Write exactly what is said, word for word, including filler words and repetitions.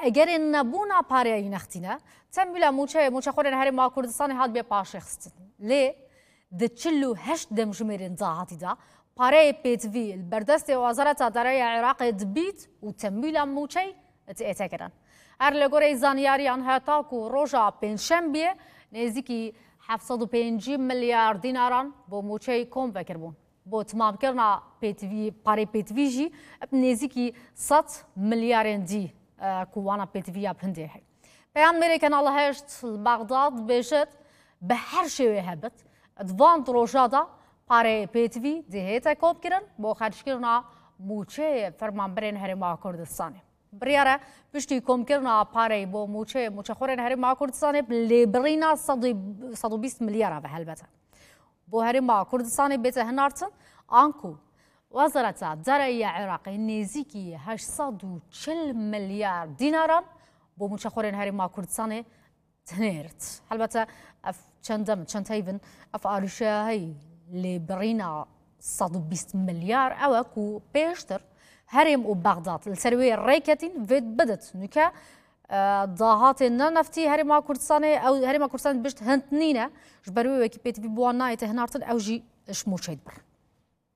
Egerê nebûna pareyî nextîne, temwîla mûçeyê mûçexorên Herêma Kurdistanê hat bê paşê xistin. Lê di çil û heşt demjimêrên dahatî de pareyê pêtivî li berdestê Wezareta Dereya Iraqê dibît û temwîla mûçey diête kirin. Her li gorî zanyariyan, heta ku roja Pêncşembiyê nêzîkî heft sed û pêncî milyar dînaran bo mûçeyê kom vekiribûn. Bo timamkirina pêtivî, parê pêtivî jî bi nêzîkî sed milyarên dî, e, ku wana pêtivî ya bi hindê heye. Peyamnêrê Kanal heşt li Bexdad dibêjit, bi her şêwê hebit, di van roja de parê pêtivî dihête komkirin bo xerckirina mûçeyê fermanberên Herêma Kurdistanê. Biryar e piştî komkirina pareyê bo mûçeyê mûçexorên Herêma Kurdistanê bi lêbirîna sed û, sed û bîst milyar ve helbete. Bo Herêma Kurdistanê bête hinartin, anku Wezareta Dereya Iraqê nêzîkî heşt sed û çil milyar dînaran bo mûçexorên Herêma Kurdistanê dinêrit. Helbete ev çend dem, çend heyvin, ev arîşeya hey lêbirîna sed û bîst milyar ew e ku pêştir Herêm û Bexdad li ser wê rêketîn vê bidit. Nûke, e, dahatên ne neftî Herêma Kurdistanê, ew Herêma Kurdistanê dibişt hind nîne, ji ber wê wekî pêtivî bi wan nayête hinartin, ew jî ji mûçeyê dibirin.